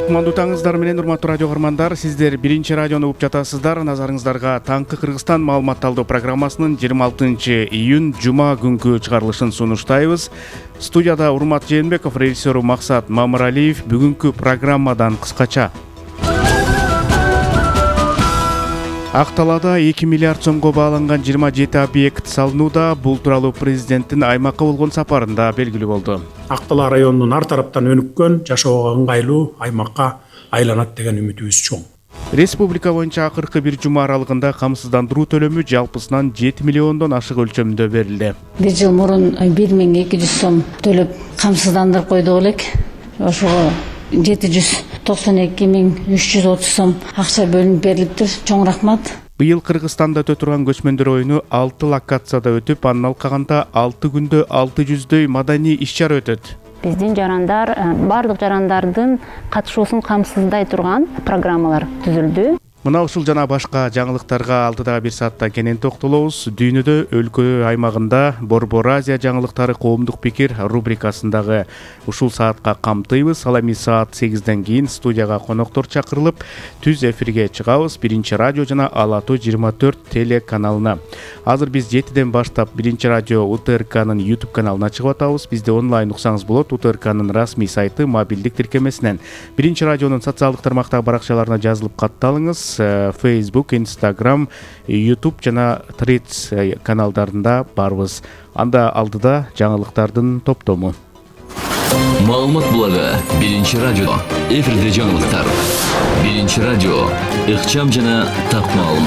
Кутмандуу таңыңыздар менен урматтуу радио көрөрмандар, сиздер биринчи радиону угуп жатасыздар. Назарыңыздарга Таңкы Кыргызстан маалыматталдоо программасынын 26-июнь жума күнкү чыгарылышын сунуштайбыз. Студияда Урмат Жээнбеков, режиссеру Максат Мамыралиев. Бүгүнкү программадан кыскача: Ак Талаада 2 миллиард сомго бааланган 27 объект салынууда. Бул тууралуу президенттин аймакка болгон сапарында белгилүү болду. Ак Тала районунун ар тараптан өнүккөн, жашоого ыңгайлуу аймакка айланат деген үмүтүбүз чоң. Республика боюнча акыркы бир жума аралыгында камсыздандыруу төлөмү жалпысынан 7 миллиондон ашык өлчөмүндө берилди. Бир жыл мурун 1200 сом төлөп камсыздандырып койдук элек. Ошого 792.330 сом акча бөлүнүп берилиптир. Чоң рахмат. Быйыл Кыргызстанда өтө турган көчмөндөр оюну 6 локацияда өтүп, анын алкагында 6 күндө 600дөй маданий иш-чара өтөт. Биздин жарандар бардык жарандардын катышуусун камсыздай турган программалар түзүлдү. Мына ушул жана башка жаңылыктарга алдыда бир саатта кенен токтолобуз. Дүйнөдө, өлкө аймагында Борбор Азия жаңылыктары коомдук пикир рубрикасындагы ушул саатка камтыйбыз. Ал эми саат 8ден кийин студияга коноктор чакырылып, түз эфирге чыгабыз биринчи радио жана Ала Тоо 24 телеканалына. Азыр биз 7ден баштап биринчи радио УТРКнын YouTube каналына чыгып атабыз. Бизди онлайн уксаңыз болот. УТРКнын расмий сайты, мобилдик тиркемесинен. Биринчи радионун социалдык тармактагы баракчаларына жазылып катталыңыз. Facebook, Instagram, YouTube жана Threads каналдарында барбыз. Анда алдыда жаңылыктардын топтому. Маалымат булагы биринчи радио. Эфирде жаңылыктар. Биринчи радио. Ыкчам жана так маалымат.